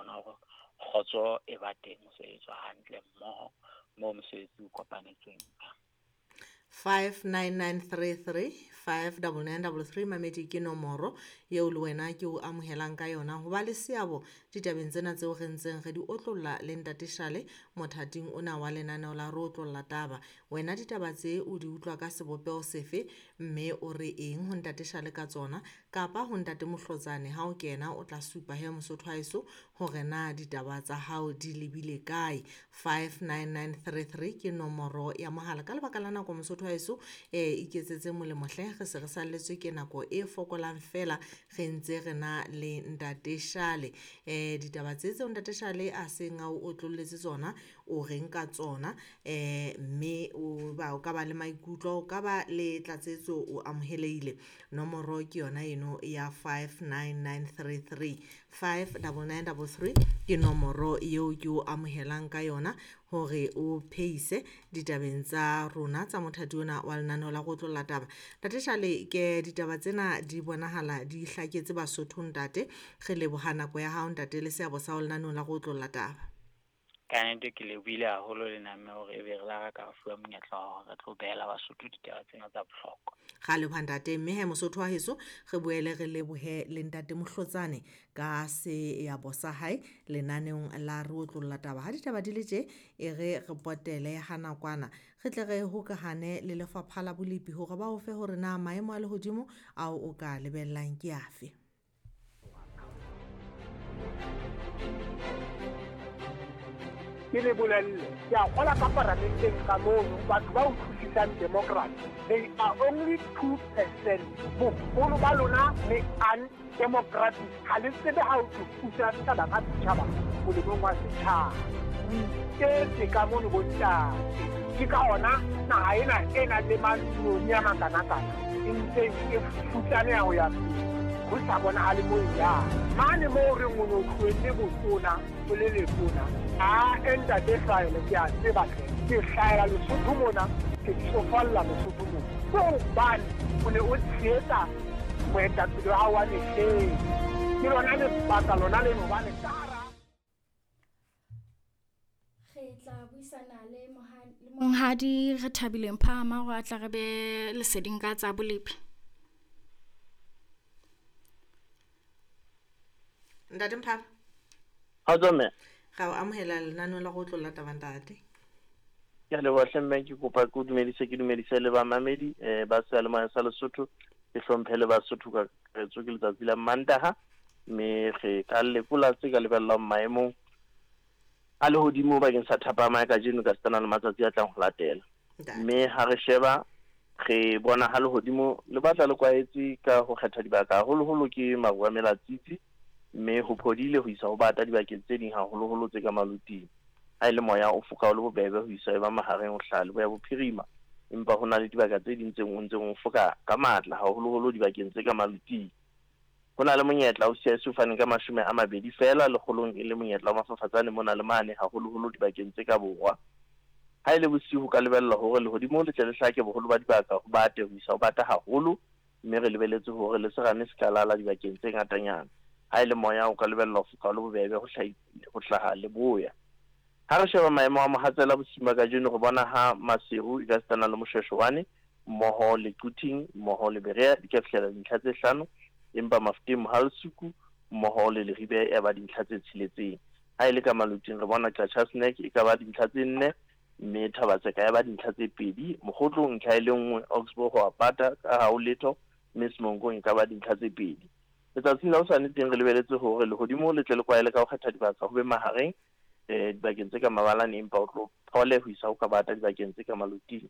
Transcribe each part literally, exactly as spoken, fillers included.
bona hore kgotso e ba teng, ho sebetswa hantle mmoho moo mosebetsi o kopanetsweng. five nine nine three three five double nine double three mamedi ke nomoro eo le wena ke o amohelang ka yona ho ba le seabo ditabeng tsena tseo re ntseng re di otlolla le Ntate Shale mothating ona wa lenaneo la re otlolla taba. Wena ditaba tse o di utlwa ka sebopeho sefe mme o re eng ho Ntate Shale ka tsona kapa ho Ntate Mohlotsane ha o kena o tla supa he Mosotho wa heso hore na ditaba tsa hao di lebile kae. five nine nine three three ke nomoro ya mohala. Ka lebaka la nako Mosotho wa heso eh iketsetse molemo hle, re se re salletswe ke nako e fokolang fela re ntse re na le Ntate Shale. Eh ditaba tse tseo Ntate Shale a seng a o otlolletse tsona o reng ka tsona, eh mme o ba o ka ba le maikutlo, o ka ba le tlatsetso, o amohelehile. Nomoro ke yona eno ya five nine nine three three five double nine double three ke nomoro eo ke o amohelang ka yona hore o phehise ditabeng tsa rona tsa mothati ona wa lenaneo la go otlolla taba. Ntate Shale, ke ditaba tsena di bonahala di hlaketse Basotho ntate. Re leboha nako ya hao ntate le seabo sa ho lenaneong la go otlolla taba. Ka nnete ke lebohile haholo le nna mme hore ebe re la ka fuwa monyetla wa hore re tlo behela Basotho ditaba tsena tsa bohlokwa. Ra leboha ntate, mme he Mosotho wa heso re boele re lebohe le Ntate Mohlotsane ka seabo sa hae lenaneong la re otlolla taba. Ha ditaba di le tje, e re re potele ha nakwana re tle re hokahane le lefapha la bolepi hore ba o fe hore na maemo a lehodimo ao o ka lebellang ke afe. Ke le bolelle, ke a kgola ka paramenteng ka mono, batho ba utlwisisang democracy, they are only two percent. Boholo ba lona le undemocratic, ha le tsebe ha o thusa setjhaba ka setjhaba molemong wa setjhaba. O iketse ka mono bontate. Ke ka hona naha ena e nang le mantsiboya a makanakana e ntse e futsaneha ho ya pele, ho sa bonahale moo e yang. Mane moo re o no tlohelle botona, o le letona, a ntate Hlahele ke a tseba hle, ke hlahela Lesotho mona, ke tsofalla Lesotho mona. Ke hobane o ne o tshehetsa moetapele wa hao wa mehleng. Ke lona lebaka lona leno hobane ka hara Re tla buisana le monghadi re thabileng Phahama hore a tla re be leseding ka tsa bolepi. Ntate Mphama. Kgotso mme. Ra o amohela lenaneo la go otlolla taba ntate. Ke a leboha hle mme, ke kopa ke o dumedise, ke dumedise le bamamedi eh ba seyalemoya sa Lesotho, ke hlomphe le Basotho ka kakaretso. Ke letsatsi la Mantaha mme re ka lekola tse ka lebellwang maemong a lehodimo bakeng sa thapama ya kajeno ka setana le matsatsi a tlang ho latela. Mme ha re sheba re bona ha lehodimo le batla le kwaetse ka ho kgetha dibaka, haholoholo ke maru a melatsitsi, mme ho phodile ho isa ho bata dibakeng tse ding haholoholo tse ka maluting. Ha e le moya o foka o le bobebe ho isa e ba mahareng ho hlaha leboya bophirima, empa ho na le dibaka tse ding tse o ntseng o foka ka matla haholoholo dibakeng tse ka maluting. Ho na le monyetla o C I S o faneng ka mashome a mabedi feela lekgolong, e le monyetla wa mafafatsane mona le mane haholoholo dibakeng tse ka borwa. Ha e le bosiu ho ka lebellwa hore lehodimo le tle le hlake boholo ba dibaka ho bate ho isa ho bata haholo, mme re lebeletse hore le serame se ka lala dibakeng tse ngatanyana. Ha e le moya o ka lebellwa ho foka o le bobebe ho ho hlaha leboya. Ha re sheba maemo a mohatsela bosiu ba kajeno, re bona ha Maseru e ka sitana le Moshweshwane mmoho le Quthing mmoho le Berea di ka fihlela dintlha tse hlano, empa Mafeteng Mohalesuku mmoho le Leribe e ba dintlha tse tsheletseng. Ha e le ka maluting re bona Qacha's Nek e ka ba dintlha tse nne, mme Thabatseka ya ba dintlha tse pedi, Mokgotlong ntlha e le nngwe, Oxbow ho apata ka ha ho letho, mme Semonkong e ka ba dintlha tse pedi. Letsatsing la hosane teng re lebeletse hore lehodimo le tle le kwaele ka ho kgetha dibaka ho be mahareng eh dibakeng tse ka mabalane, empa o tlo phole ho isa ho ka bata dibakeng tse ka maluting,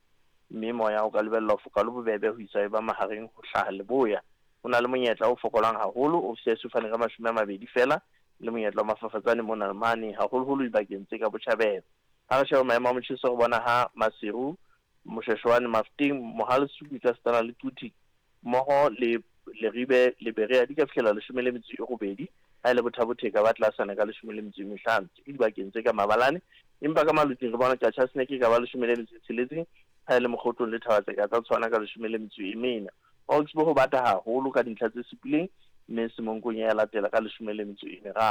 mme moya o ka lebellwa ho foka le bobebe ho isa e ba mahareng ho hlaha leboya. Ho na le monyetla o fokolang haholo o C I S o faneng ka mashome a mabedi feela, le monyetla wa mafafatsane mona le mane haholoholo dibakeng tse ka botjhabela. Ha re sheba maemo a motjheso re bona ha Maseru, Moshweshwane, Mafeteng, Mohalesuku ka setana le Quthing mmoho le Leribe le Berea di ka fihlela leshome le metso e robedi, ha e le Botha-Bothe ka ba tlasana ka leshome le metso e mehlano ke dibakeng tse ka mabalane, empa ka maluting re bona Qacha's Nek e ka ba leshome le metso e tsheletseng, ha e le Mokgotlong le Thabatseka tsa tshwana ka leshome le metso e mene. Oxbow ho bata haholo ka dintlha tse supileng, mme Semonkong ya latela ka leshome le metso e meraro.